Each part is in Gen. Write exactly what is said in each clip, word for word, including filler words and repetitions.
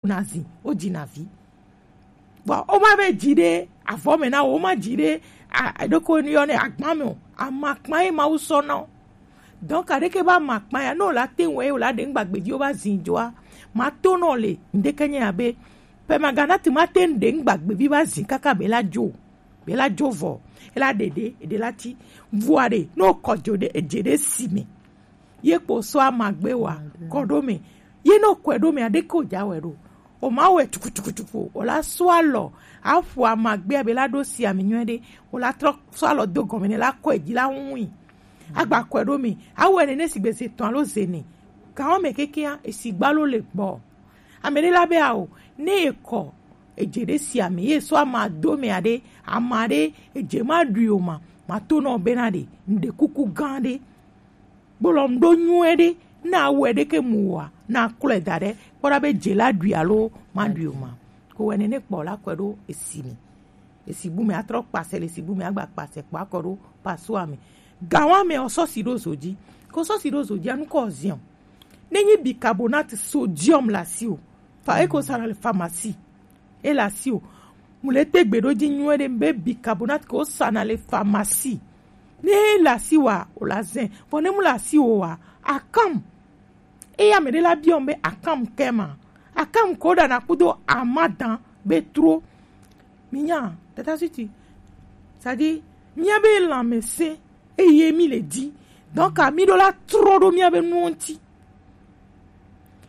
na zi, o ji na vi. Bon, o ma be ji ɖe avɔ me na wo, o ma ji ɖe a, a ɖoko ni yɔ ne agban me o. Amakpa ye Mawu sɔ na wo. Donc, aɖeke ba amakpa ya, no la te wɔ ye, o la ɖe ŋgba gbevi o ba zi joa. Ma to no le, ndeke nye ya be, pe magana te ma te ɖe ŋgba gbevi ba zi kaka be la jo. Be la jo vɔ, e la ɖe ɖe, e ɖe la ti. Vua ɖe, no kɔ jo ɖe, e je ɖe si me. Ye kpo sɔ amagbe wa kɔ ɖo me. Ye no kɔe ɖo me, aɖeke o ja wɛ ɖo. O ma wɛ tukutukutuku, o la sɔ alɔ, aƒo amagbea be la ɖo si ami nyuie ɖe, o la trɔ sɔ alɔ do gɔme ne la kɔe ji la ŋui. Agba kɔe ɖo me, awɛ nene sigbe ze tɔn alo ze ne. Gawo me kekea, esi gbalo le gbɔ. Ame ɖe la be ao, ne ekɔ, eje ɖe si ame, ye sɔ ama do me aɖe, ama ɖe, eje ma ɖui o ma, ma to nɔ bena ɖe, ŋɖe kuku gã ɖe. Gbolɔ ŋɖo nyuie ɖe, na awɛ ɖe ke mu wa, na klɔe da ɖe, kpɔ ɖa be je la ɖui alo ma ɖui o ma. Ko wɛ nene kpɔ la kɔe ɖo esi me. Esi bu me atrɔ kpasɛ le esi bu me agba kpasɛ kpɔ akɔ ɖo pasua me. Gawa me o sɔ si ɖo zo ji. Ko sɔ si ɖo zo ji anu kɔ zion. Ne nyi bicarbonate sodium la si o. Fa eko sa na le pharmacie. E la si o. Mu le te gbe ɖo ji nyuie ɖe be bicarbonate ko sa na le pharmacie. Ne la si wa, o la zɛn. Vɔ ne mu la si o wa, akam. Eya me ɖe la biɔ be akam kɛ ma. Akam ko ɖa na kudo amadan be tro. Mi nya, tata suti. C'est-à-dire, mia be lanmese, eye mi le di. Donc, ami ɖo la tro ɖo mia be nuwo ŋti.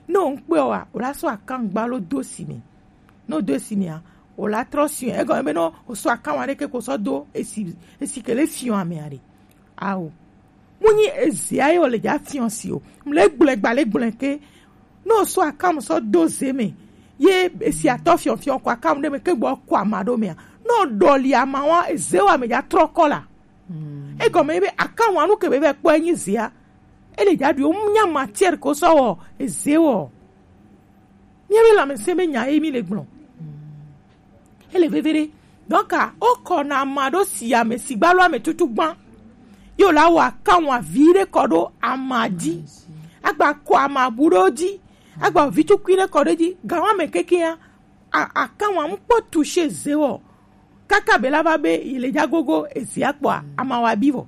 Ne o ŋkpɔe wa, o la sɔ akangba lo do si me. Ne o do si mea, o la trɔ si. Egɔme be ne o sɔ akangba ɖe ke ko sɔ do esi, esi ke le fiɔ amea ɖe. Ao. Mu nyi ezea ye o le dza fiɔ si o. Mu le gblẽ gba le gblẽ ke. Ne o sɔ akangba sɔ do ze me. Ye esi atɔ fiɔ fiɔ ko akangba ɖe me ke gbɔ ko ama ɖo mea. Ne o ɖɔli ama wa, eze wa me dza trɔ kɔ la. Egɔme ye be akangba nu ke be be kpɔ enyi zea. Ele dza ɖui o mu nya matière ko sɔ wɔ eze wɔ. Mia be lanmese be nya ye mi le gblɔ. Ele veve ɖe. Donc, o kɔ na ama ɖo si ame si gba lo ame tutu gban. Yo la wa kan wa vi ɖe kɔ ɖo ama ji. Agba kɔ ama bu ɖo ji. Agba vi tukui ɖe kɔ ɖo ji. Gawa me kekea. A, akan wa mu kpɔ toucher ze wɔ. Kaka be la va be yi le dza gogo ezia kpɔa, ama wa bi vɔ.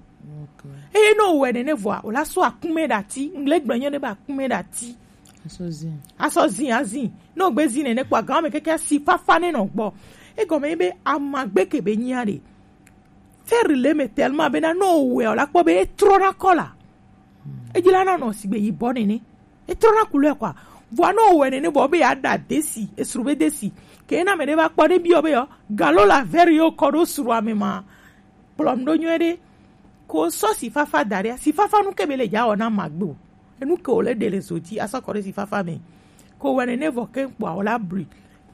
Eye ne o wɛ nene vɔa, o la sɔ akume ɖe ati, ŋgble gblɔ nyɔ ne be akume ɖe ati. Asɔ zin. Asɔ zin, azin. Ne o gbe zin nene kpɔa, gan me keke asi fafa ne nɔ gbɔ. Egɔme ye be amagbe ke be nyia ɖe. Fɛri le me tellement bena ne o wɛ o la kpɔ be e trɔ na kɔla. Edzi la na nɔ sigbe yibɔ nene. E trɔ na couleur kɔa. Vɔa ne o wɛ nene vɔ be ya ɖa desi, esru be desi. Ke na me ɖe va kpɔ ɖe biɔ be yɔ, galo la vɛri yo kɔ ɖo srua me ma. Kplɔm ɖo nyuie ɖe. Ko sɔ si fafa da ɖe, si fafa nu ke be le dza wɔ na magbe o. Enu ke o le ɖe le zo dzi asɔ kɔ ɖe si fafa me. Ko wɛ nene vɔ ke kpɔa o la blui.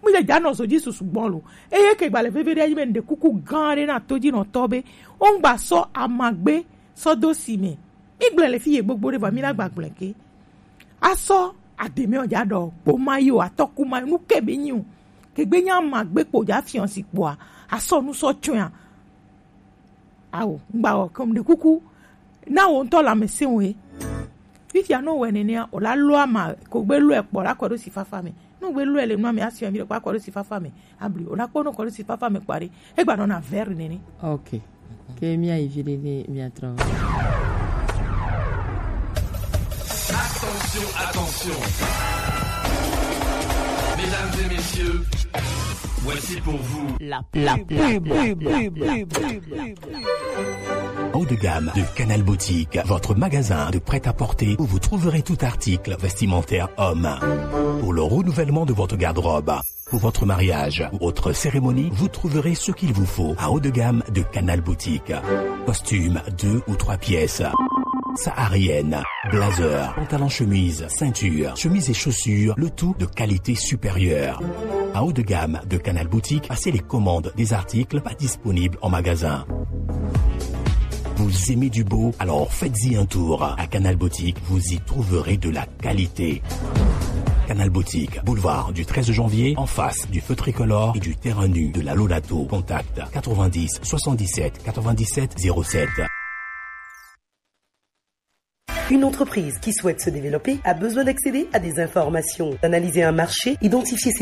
Mu le dza nɔ zo dzi susu gbɔn lo. Eye ke gba le veve ɖe anyi be ŋɖe kuku gã ɖe na to dzi nɔ tɔ be. O ŋgba sɔ amagbe sɔ do si me. Mi gblẽ le fi ye gbogbo ɖe vɔ mi na gba gblẽ ke. Asɔ ademe o dza ɖɔ kpo ma yi o atɔ ku ma nu ke be nyi o. Ke gbe nya ma gbe kpo dza fiɔ si kpoa. Asɔ nu sɔ tsɔa. Awo, ŋgba wɔ kɔm ɖe kuku. Na wo ŋutɔ lãmesẽ wo ye. Fifia ne wowɔe nenea, wòla lɔ ama ko gbe lɔe kpɔ la kɔ ɖo sifafa me. Ne wogbe lɔe le nua me, asiɔ mi ɖe kpɔ akɔ ɖo sifafa me. Abli, wòla kpɔ ne wokɔ ɖo sifafa me kpɔ ɖe, egba nɔna vert nene. Ok. Ke mía yi vi ɖe ne mía trɔ. Attention, attention. Mesdames et messieurs, voici pour vous la, la pub. Haut de gamme de Canal Boutique, votre magasin de prêt-à-porter où vous trouverez tout article vestimentaire homme. Pour le renouvellement de votre garde-robe, pour votre mariage ou autre cérémonie, vous trouverez ce qu'il vous faut à haut de gamme de Canal Boutique. Costume deux ou trois pièces. Saharienne, blazer, pantalon chemise, ceinture, chemise et chaussures, le tout de qualité supérieure. À haut de gamme de Canal Boutique, passez les commandes des articles pas disponibles en magasin. Vous aimez du beau ? Alors faites-y un tour. À Canal Boutique, vous y trouverez de la qualité. Canal Boutique, boulevard du treize janvier, en face du feu tricolore et du terrain nu de la Lolato. Contact quatre-vingt-dix soixante-dix-sept quatre-vingt-dix-sept zéro sept. Une entreprise qui souhaite se développer a besoin d'accéder à des informations, d'analyser un marché, identifier ses